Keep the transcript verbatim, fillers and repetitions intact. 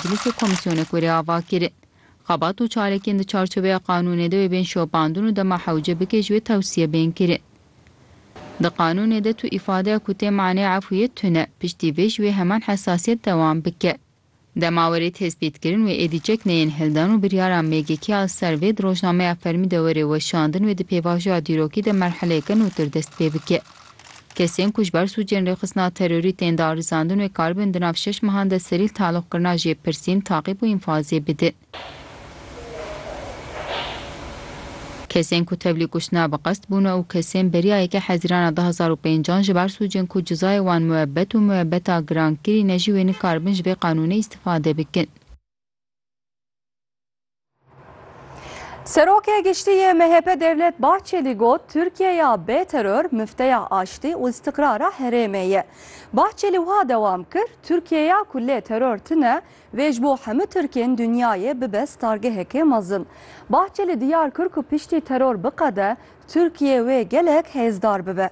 meclisê komîsyonek were ava kirin. Xebat û çalakiyên di çarçoveya qanûnê de wê bên şopandin û dema hewce bike ji wê tewsiye bên kirin. Di qanûnê de tu îfadeya ku tê manê efûyê tune, piştî vê ji wê heman hesasiyet dewam bike. Dema were tespîtkirin wê êdî çek neyên hildan û biryara M G K ya li ser vê di rojnameya fermî de were weşandin wê di pêvajoya dîrokî de merheleyeke nûtir dest pê bike. Kesên ku ji ber sûcên rêxistina terorî tên darizandin wê karibin di nav şeş mehan de serî li taloqkirina jêpirsîn, taqîb û înfazê bidin. Kesên ku tevlî kuştina bi qest bûne û kesên beriya yekê Hezîrana du hazar û pêncan ji ber sûcên ku cizayê wan muebbet û muebbeta girankirî ne jî wê nikaribin ji vê qanûnê îstifade bikin. Serokê Giştî yê M H P Devlet Bahçelî got, Tirkiyeya bê teror mifteya aştî û îstiqrara herêmê ye. Bahçelî wiha dewam kir, Tirkiyeya ku lê teror tune, wê ji bo hemû Tirkên dinyayê bibe stargehekê mezin. Bahçelî diyar kir ku piştî teror biqede, Tirkiye wê gelek hêzdar bibe.